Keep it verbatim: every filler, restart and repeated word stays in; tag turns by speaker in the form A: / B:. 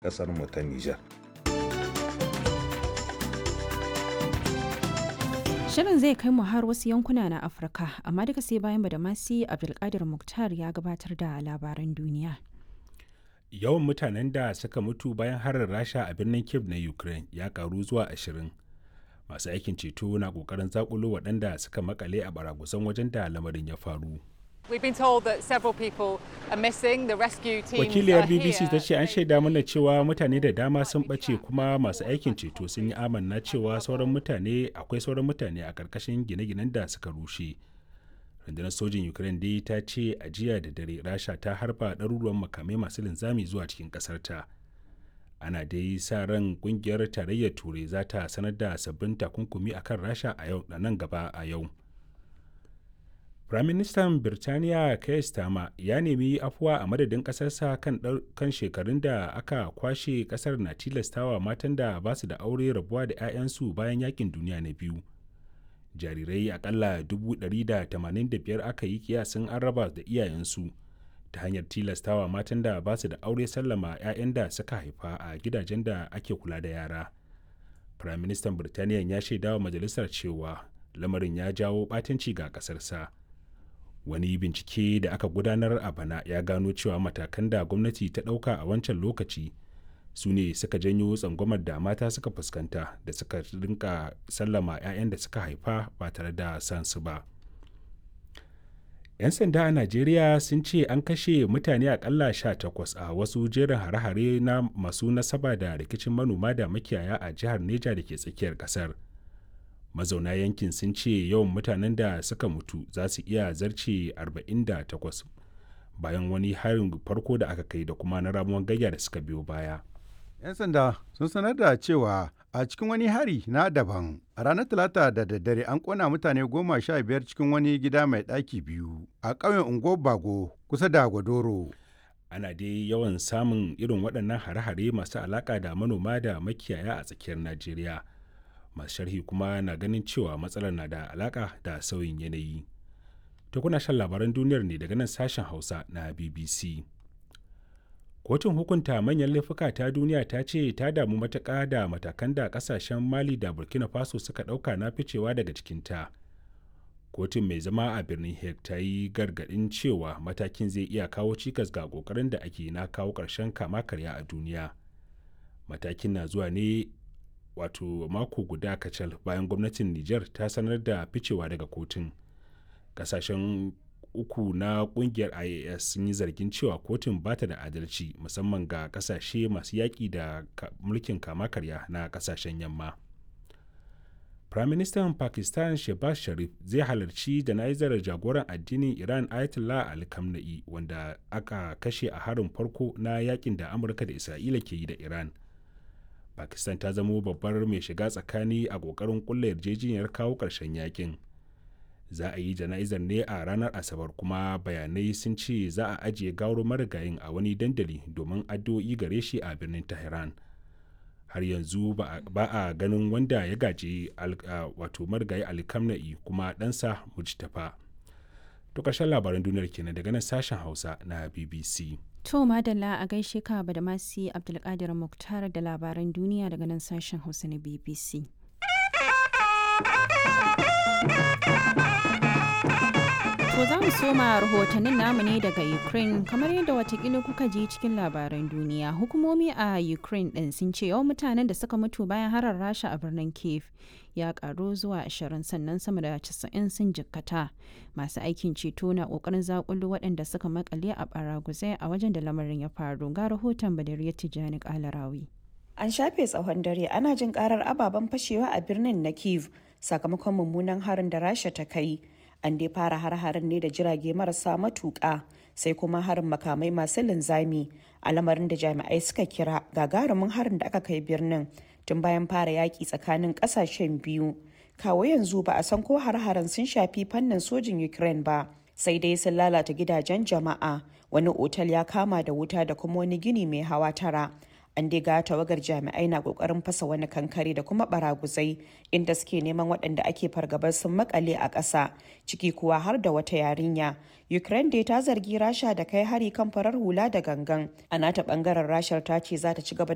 A: ƙasar mu ta Nijar.
B: Shirin zai kai mu har wasu yankuna na Afirka, amma duka sai bayan Badamasi Abdulkadir Muktar ya gabatar da labaran duniya.
C: Yawan mutanen da suka mutu bayan harin Rasha a birnin Kiev na Ukraine ya karu zuwa ashirin. Masu aikin ceto na kokarin zakulo waɗanda suka makale a baragusan wajen da lamarin ya faru. Wakiliyar B B C ta ce an shaida mana cewa mutane da dama sun ɓace, kuma masu aikin ceto sun yi amanna cewa sauran mutane akwai sauran mutane a ƙarƙashin gine-ginen da suka rushe. Rundunar sojin Ukraine dai ta ce a jiya da dare Rasha ta harba ɗaruruwan makamai masu linzami zuwa cikin ƙasarta. Ana dai sa ran ƙungiyar Tarayyar Turai za ta sanar da sabbin takunkumi akan Rasha a yau nan gaba a yau. Firaministan Birtaniya Keir Starmer ya nemi afuwa a madadin ƙasarsa kan, kan shekarun da aka kwashe ƙasar na tilastawa matan da ba su da aure rabuwa da 'ya'yansu bayan yakin duniya na biyu. Jarirai akalla dubu ɗari da tamanin da biyar aka yi kiyasin an raba da iyayensu ta hanyar tilastawa matan da ba su da aure sallama 'ya'yan da suka haifa a gidajen da ake kula da yara. Firaministan Birtaniya ya shaidawa majalisar cewa lamarin ya jawo ɓatanci ga ƙasarsa. Wani bincike da aka gudanar a bana ya gano cewa matakan da gwamnati ta ɗauka a wancan lokaci su ne suka janyo tsangwamar da mata suka fuskanta da suka rinka sallama 'ya'yan da suka haifa ba tare da san su ba. 'Yan sanda a Najeriya sun ce an kashe mutane akalla sha takwas a wasu jerin hare-hare na masu nasaba da rikicin manoma da makiyaya a jihar Neja da ke tsakiyar kasar. Mazauna yankin sun ce yawan mutanen da suka mutu za su iya zarce arba'in da takwas bayan wani harin farko da aka kai da kuma na ramuwan gayya da suka biyo baya.
D: 'Yan sanda sun sanar da cewa a cikin wani hari na daban a ranar Talata da daddare, an kona mutane goma sha biyar cikin wani gida mai ɗaki biyu a ƙauyen Unguwar Bago kusa da Gwadoro.
C: Ana dai yawan samun irin waɗannan hare-hare masu alaƙa da manoma da makiyaya a tsakiyar Najeriya. Masu sharhi kuma na ganin cewa matsalar na da alaka da sauyin yanayi. Ta kuna shan labaran duniyar ne daga nan Sashen Hausa na B B C. Kotun Hukunta Manyan Laifuka ta Duniya ta ce ta damu matuƙa da matakan da kasashen Mali da Burkina Faso suka ɗauka na ficewa daga cikinta. Kotun mai zama a birnin Hague ta yi gargaɗin cewa matakin zai iya kawo cikas ga ƙoƙarin da ake na kawo ƙarshen kama karya a duniya. Matakin na zuwa ne wato mako guda kacal bayan gwamnatin Niger ta sanar da ficewa daga kotun. Kasashen uku na kungiyar I A S sun yi zargin cewa kotun ba ta da adalci, musamman ga kasashe masu yaƙi da mulkin kama karya na kasashen yamma. Firaministan Pakistan Shehbaz Sharif zai halarci jana'izar jagoran addinin Iran Ayatollah Ali Khamenei, wanda aka kashe a harin farko na yakin da Amurka da Isra'ila ke yi da Iran. Pakistan ta zamo babbar mai shiga tsakani a kokarin kulla yarjejeniyar kawo ƙarshen yakin. Za a yi jana'izar ne a ranar Asabar, kuma bayanai sun ce za a ajiye gawar marigayin a wani dandali domin addu'o'i gare shi a birnin Tehran. Har yanzu ba a ganin wanda ya gaji wato marigayi Alkamna'i kuma ɗansa Mujtafa. To, ƙarshen labaran duniyar kenan daga nan Sashen Hausa na B B C.
B: To madalla, a gaishe ka Badamasi Abdulkadir Muktar da labaran duniya daga nan Sashen Hausa na B B C. To, za mu soma rahotannin namu ne daga Ukraine. Kamar yadda watakila kuka ji cikin labaran duniya. Hukumomi a Ukraine ɗin sun ce yawan mutanen da suka mutu bayan harar Rasha a birnin Kiev ya karu zuwa ashirin, sannan sama da casa'in sun jikkata. Masu aikin ceto na kokarin zakulu waɗanda suka makale a baraguzai a wajen da lamarin ya faru. Ga rahoton Badariya Tijjani Kalarawi.
E: An shafe tsawon dare ana jin karar ababen fashewa a birnin na Kiev sakamakon mummunan harin da Rasha ta kai. An dai fara har-harin ne da jirage marasa matuƙa, sai kuma harin makamai masu linzami, a lamarin da jami'ai suka kira gagarumin harin da aka kai birnin tun bayan fara yaƙi tsakanin ƙasashen biyu. Kawo yanzu ba a san ko har-haren sun shafi fannin sojin Ukraine ba, sai dai sun lalata gidajen jama'a, wani otal ya kama da wuta da kuma wani gini mai hawa tara. An dai ga tawagar jami'ai na kokarin fasa wani kankare da kuma baraguzai inda suke neman waɗanda ake fargabar sun makale a ƙasa, ciki kuwa har da wata yarinya. Ukraine dai ta zargi Rasha da kai hari kan farar hula da gangan. A nata bangaren, Rashar ta ce za ta ci gaba